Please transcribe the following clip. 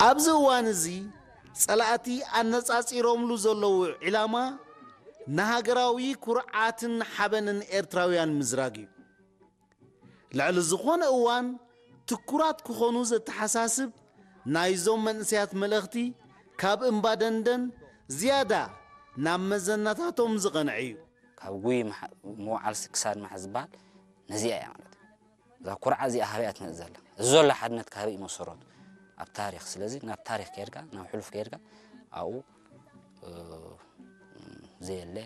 ኣብዚ እዋን እዚ ጸላእቲ ኣነጻጺሮምሉ ዘለዉ ዒላማ ንሃገራዊ ኩርዓትን ሓበንን ኤርትራውያን ምዝራግ እዩ። ልዕሊ ዝኾነ እዋን ትኩራት ክኾኑ ዘተሓሳስብ ናይዞም መንእሰያት መልእኽቲ ካብ እምባ ደንደን ዝያዳ ናብ መዘናታቶም ዝቐንዐ እዩ። ካብ ጉይ ምውዓል ክሳድ ምሓዝ ዝበሃል ነዚኣ እያ ማለት እዩ። እዛ ኩርዓ እዚኣ ካበይ እያ ትመጽእ ዘላ? እዚ ዘሎ ሓድነት ካበይ እዩ መሰረቱ? ኣብ ታሪኽ። ስለዚ ናብ ታሪኽ ከይድካ፣ ናብ ሕሉፍ ከይድካ ኣብኡ ዘየለ